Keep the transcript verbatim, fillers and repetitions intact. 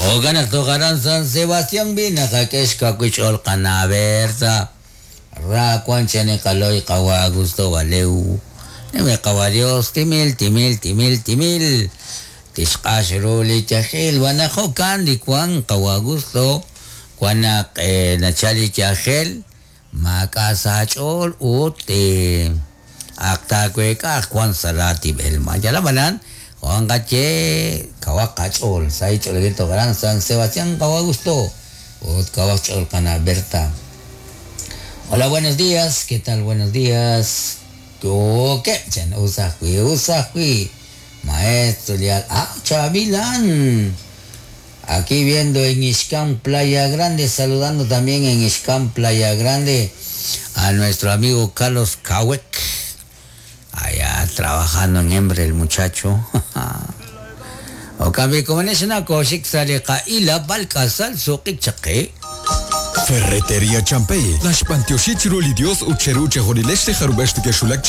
Ogan togaran San Sebastián bina kakesh kakuichol kana Berta. Ra kwanchane kaloy kawa Augusto Valeu. Neme kawa Dios timil timil timil timil. Tixqax ru li yajel wanajo kan li kwan kawa Augusto. Kwanak eh, nachali yajel. Makasachol ut eh, aktakweka kwan salati belma. Yalabanan. Juan Gache, Kawakachol, Saichol, Gran San Sebastián, Kawagusto, Ut Kawachol, Cana Berta. Hola, buenos días, ¿qué tal? Buenos días. ¿Qué? Chen, usajui, usajui. Maestro Leal. Ah, Chavilán. Aquí viendo en Ixcán, Playa Grande, saludando también en Ixcán, Playa Grande, a nuestro amigo Carlos Kawek. Allá trabajando en hembre el muchacho. O cambio como en esa cosa sale ila balcasal suqi chaqi. Ferretería Champey. Las pantioxichiruli Dios ucheruche jorilesh jarubesh que shulak.